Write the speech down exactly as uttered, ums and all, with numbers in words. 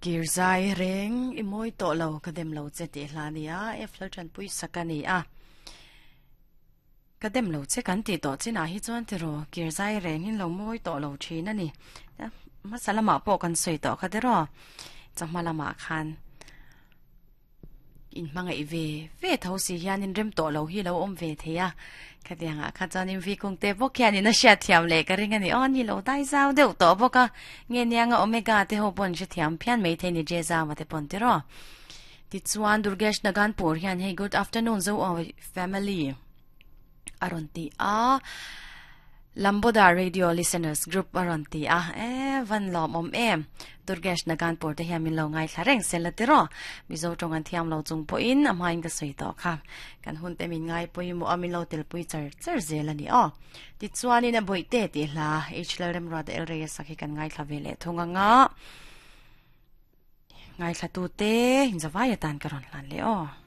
Kirzai reng i moi to lo ka dem lo che ti hla nia e flo chan pui sakani a ka dem lo che kan ti to china hi chuan ti ro kirzai reng in lo moi to lo thin ani masalama pawh kan soi to kha te ro chahma lama khan in hmangai ve ve tho si hian in rem to lo hi lo om ve theia khatianga kha chuan in vi kung te bawk hian in a hriat thiam leh ka ring ani aw ni lo dai zau deuh tawh bawk a nge nianga omega te ho pawn hre thiam phian mai thei ni je zau te pawn ti ro ti chuan Durgesh Naganpur hian hey good afternoon zo family aron ti a Lamboda Radio Listeners Group aron ti a e van lom om em Durgesh Naganpur te hian min lo ngai thla reng sel ti ro mizo tong an thiam lo chung po in a main ka soi to kha kan hun te min ngai pui mu amin lo tel pui char char zel ani o ti chuan in a boi te ti hla h l rem ra de el re sakhi kan ngai thla vele thunga nga ngai thla tu te hin zawai tan karon hlan le o.